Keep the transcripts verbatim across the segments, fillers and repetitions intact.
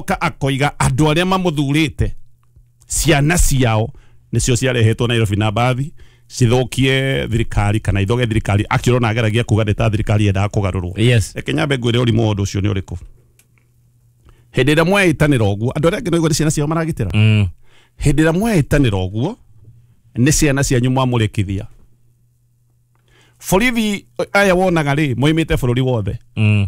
Agacoka akoiga andũ arĩa mamũthurĩte ciana ciao nĩcio ciarehetwo Nairobi na mbathi cithũkie thirikari kana ithoge thirikari. Akĩrona ageragia kuga nĩ ta thirikari yendaga kũgarũrwo. Yes. Reke nyambe ngwĩre ũrimũ wa ũndũ ũcio nĩ ũrĩkũ. Hĩndĩ ĩrĩa mweĩtanĩra ũguo, andũ arĩa angĩ no nĩ ciana ciao maragitĩra. Mm. Hĩndĩ ĩrĩa mweĩtanĩra ũguo nĩ ciana cianyu mwamũrĩkithia. Borithi aya wonaga rĩ moimĩte bũrũri wothe. Mm.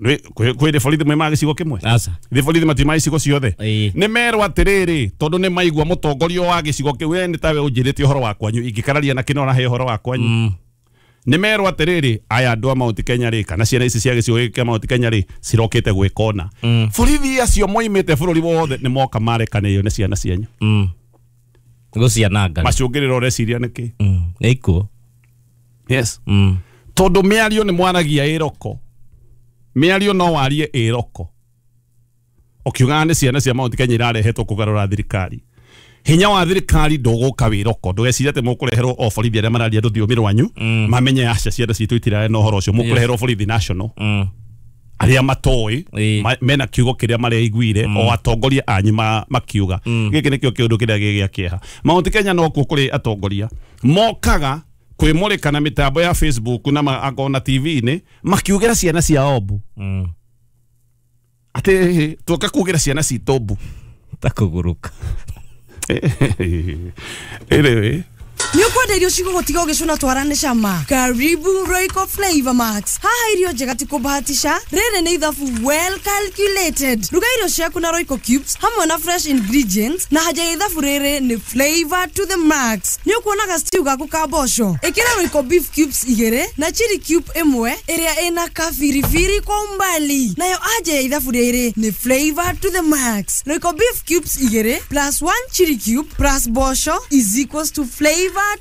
Kwĩ kwĩ borithi moimaga gĩcigo kĩmwe? Aca. Thĩ borithi matiumaga icigo ciothe. Ĩĩ. Nĩ merwo atĩrĩrĩ, tondũ nĩ maigua mũtongoria wa gĩcigo kĩu, we nĩ tawe ũnjĩrĩte ũhoro wa kwanyu, ingĩkararia na kĩno ũrahe ũhoro wa kwanyu. Mm. Nĩ merwo atĩrĩrĩ, aya andũ a Mount Kenya rĩ, kana ciana ici cia gĩcigo gĩkĩ kĩa Mount Kenya rĩ, cirokĩte gwĩka ũna. Mm. Borithi acio moimĩte bũrũri wothe nĩ moka marekanĩrio nĩ ciana cianyu. Mm. Gũciananga. Macũngĩrĩro ũreciria nĩkĩ? Mm. Nĩ ikuũ. Yes. Mm. Tondũ mĩario nĩ mwaragia ĩroko. Mĩario no warie ĩroko. Ũkiugaga nĩ ciana cia Mount Kenya irarehetwo kũgarũra thirikari. Hinya wa thirikari ndũgũka wĩroko. Ndũgecirie atĩ mũkũreherwo o borithi arĩa mararia rũthiomi rwanyu, Mm. mamenye aca ciana citũ itirarĩ na ũhoro ũcio. Mũkũreherwo borithi national. Mm. Arĩa matoĩ Ĩĩ. ma, mena kiugo kĩrĩa mareiguire o atongoria anyu ma, makiuga. Mm. Gĩkĩ nĩkĩo kĩũndũ kĩrĩa gĩ gĩa kĩeha. Mount Kenya no kuo kũrĩ atongoria mokaga kwĩmũrĩka na mĩtambo ya Facebook na ma, akorwo na T V-inĩ makiugĩra ciana ciao mbu. Mm. Atĩ tũka kugĩra ciana citũ mbu. Ta kũgũrũka. Anyway. Nĩ ũkwenda irio cigũgũtiga ũgĩcũna twara nĩ cama. Karibu Royco Flavor Max. Haha irio njega ti kũbahatisha. Rĩrĩ nĩ ithabu well calculated. Ruga irio ciaku na Royco Cubes hamwe na fresh ingredients, na haja ya ithabu rĩrĩ nĩ flavor to the max. Nĩ ũkuonaga stew gaku ka mboco. Ĩkĩra Royco beef cubes igĩrĩ na chili cube ĩmwe ĩrĩa ĩna kabiribiri kwa umbali. Nayo haja ya ithabu rĩrĩ nĩ flavor to the max. Royco beef cubes igĩrĩ plus one chili cube plus mboco is equals to flavor